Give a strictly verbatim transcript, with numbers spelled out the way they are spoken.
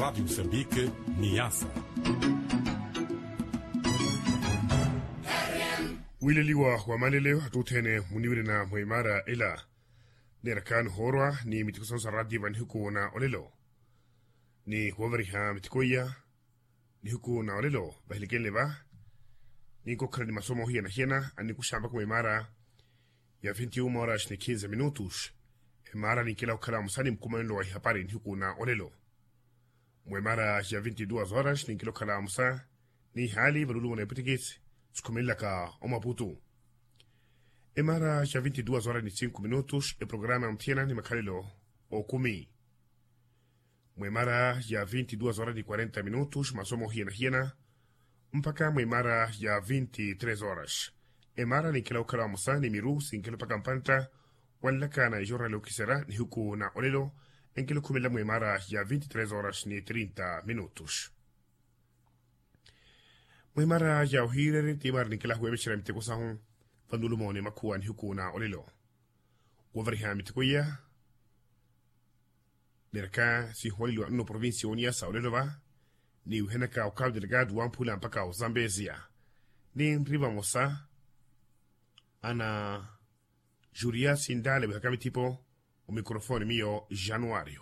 Rádio Moçambique, Niassa. Wileliwa wa maleleo attuthene muniwirina mwa imara ela. Neerakha nihoorwa ni mitiko sansa rati va nihiku na olelo, ni wooveriha mitiko iya nihiku na olelo vahilikenle va. Ninkokhala ni masomo hiyana-hiyana anikuxa mpakha mwa imara ya vinti uma horas ni kinze minutos. Emara ninkela okhala musa ni mukumanelo wa ihapari nihiku na olelo. Mwa emara ya vinti duas horas ninkela okhala musa ni ihaali valulumana epwitikisi sikhumelelaka omaputu. Emara ya vinti duas horas ni cinco minutos eprograma ya muthiyana ni makhalelo okumi. Mwa emara ya vinti duas horas ni quarenta minutos masomo hiyana-hiyana. Mpakha mwa emara ya vinti tres horas emara ninkela okhala musa ni miru sinkela mpakha mpantta. Wanlaka na ejornali okisera nihiku na olelo enkela okhumelela mwa emara ya vinti tres horas ni trinta minutos. Mwa emara ya ohiireri ti emara ninkela huwevexera miteko sahu vanulumoni makhuwa nihiku na olelo. Wovariha miteko iya neeraka sinhuwaleliwa nno provincia oniyasa olelo va. Ni wihanaka okavi delegado wamphula mpakha ozambezia ni nri vamosa ana juria sindale wihaka mithipo. Omikrofoni miyo januario.